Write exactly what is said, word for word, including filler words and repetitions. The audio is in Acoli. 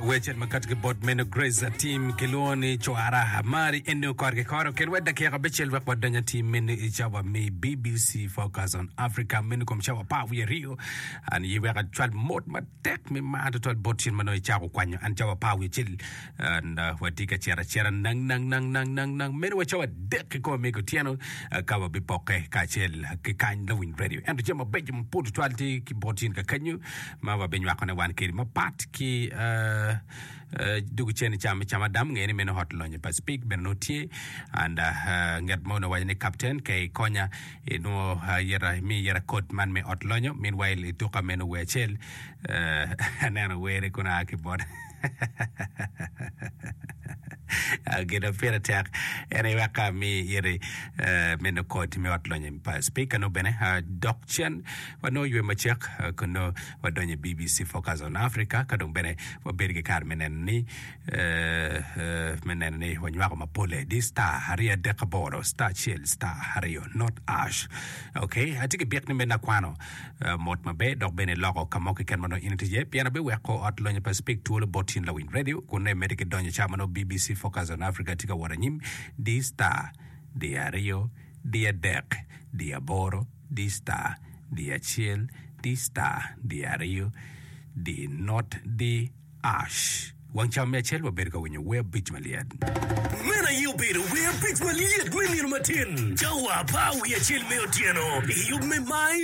Wecel ma kati ki bot meno Grace Atim kilwongo ni Cwara Mari eno kore ki kore okel wa dakika abicel wek wadony atim meno i cawa me BBC Focus on Africa meno kom cawa apar wiye aryo an ye wek acwal mot matek me mar tutwal bot cen ma nongo icako kwanyo an cawa apar wiye acel and uh, watye ka cito acita nang nang nang nang nang nang meno wa cawa adek kikome me kutyeno uh, ka wabipokke kacel ki kany lawiny radio ento jami mabeco mapol tutwal tye ki bot in kakenyo ma wabinywakone wan kedi mapat ki uh, uh, dugu cen i cam cam adam nge ni meno hot lonyo pa speak bene nongo tye and uh, nget mo nongo waco ni captain ke ikonya inongo uh, yeta mi yeta kod man me ot lonyo meanwhile ituka meno wer acel uh, aneno were kun a ki bot gin ma pire tek en aye wek ami iri meno kod me ot lonyo pa speaker no bene dok cen wanongo ywe macek kun nongo wadonyo i BBC Focus on Africa ka dong bene wabedo ki kare me neno ni me neno ni wanywako mapole di star aryo adek aboro star acel star aryo not ash ok atye ki byek ni meno akwano mot maber dok bene iloko ka mo keken ma nongo in itye iye pien abiweko ot lonyo pa Speak twolo bot in lawiny radio kun nongo imedde ki donyo ca ma nongo BBC Focus on Africa tye ka wot anyim di star di aryo di adek di aboro di star di acel di star di aryo di not di ash wang cawa me acel wabedo ka winyo wer abic malyet. Meno aye obedo wer abic malyet me nino matin, cawa apar wiye acel me otyeno i yub me My